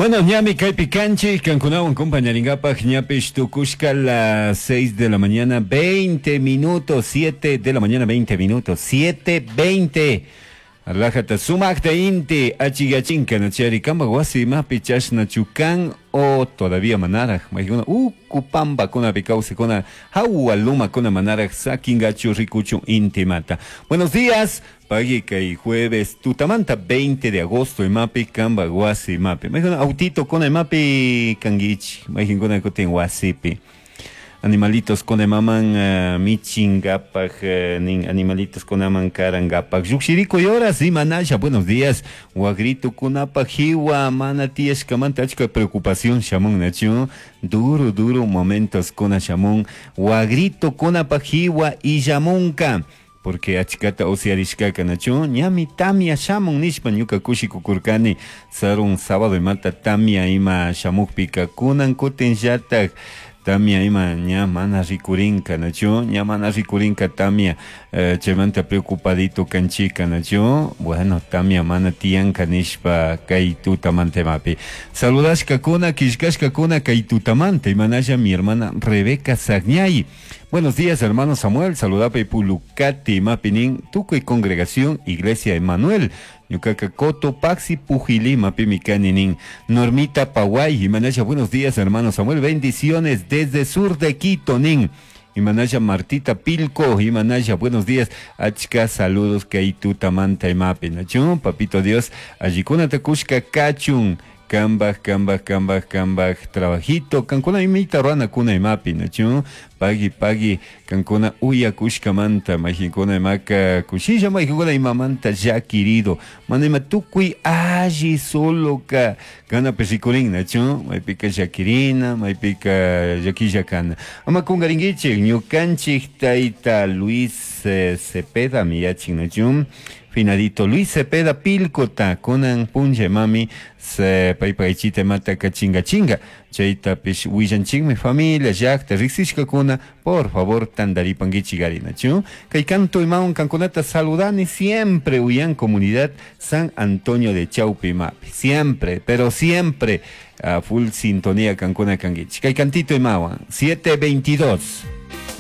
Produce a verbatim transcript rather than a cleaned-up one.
Bueno, ñami kaypi kanchik, kankunawan compañaringapaj ñapish tukushka las seis de la mañana veinte minutos, siete de la mañana veinte minutos, siete veinte. Alajata sumakta inti achigachinka nachari kamba wasi mapi chashna chukan o todavía manaraj maykuna uku pampakuna kawsakuna hawa lumakuna manaraj sakingachu rikuchun inti mata. Buenos días, pagui kay jueves tutamanta veinte de agosto imapi kamba wasi mapi. Maykuna autito kuna imapi kangichi, maykuna kutin wasipi. Animalitos con maman uh, michingapaj uh, nin animalitos con aman karangapaj llukshiriko y horas y manasha. Buenos días, wagrito kunapa jiwa mana tiyashkamanta achka preocupación shamun nachu duro duro momentos kuna shamun wagrito kunapa jiwa y shamunka porque achkata usyarishkaka nachu ñami tamia shamun nishpa ñuka kushikukurkani sarun sábado imata tamia ima shamukpika kunan kutin llatak tamia ima ña mana rikurinka nachu ña mana rikurinka tamia eh, chaymanta preocupadito kanchika nachu bueno tamia mana tiyanka nishpa kay tutamanta imapi saludashkakuna killkashkakuna kay tutamanta imanalla mi hermana Rebeca Sagñay. Buenos días, hermano Samuel, saludapa Pulucati mapinin tukuy congregación Iglesia Emanuel. Ñukaka Cotopaxi Pujilí mapimi kaninin Normita Paway imanalla. Buenos días, hermano Samuel, bendiciones desde sur de Quito nin. Imanalla Martita Pilco, Imanalla, buenos días, achka saludos kay tutamanta imapi nachu, papito Dios, allikuna takushka kachun, kambaj, kambaj, kambaj, kambaj, trabajito, kankuna imita ruana kuna imapi, nachu, pagui, pagui, kankuna uyakushkamanta, majinkuna imaka kushilla, majinkuna imamanta ya querido, mana ima tukuy alli solo ka, kana pesikurin, nachu, maypika llakirina, maypika llakilla kana. Ama kungarinkichik, ñukanchik tayta Luis eh, Cepeda miyachin, nachu, finadito Luis Cepeda Pilcota, kunan punlla mami, se paypaychita mata chinga chinga, chaytapish willanchikmi familia llakta riksishkakuna, por favor tandaripankichik ari nachu, kay canto imawan kankunata saludani siempre uyan comunidad San Antonio de Chaupi mapi, siempre, pero siempre a full sintonía kankuna kankichik, kay cantito imawan, siete veintidós.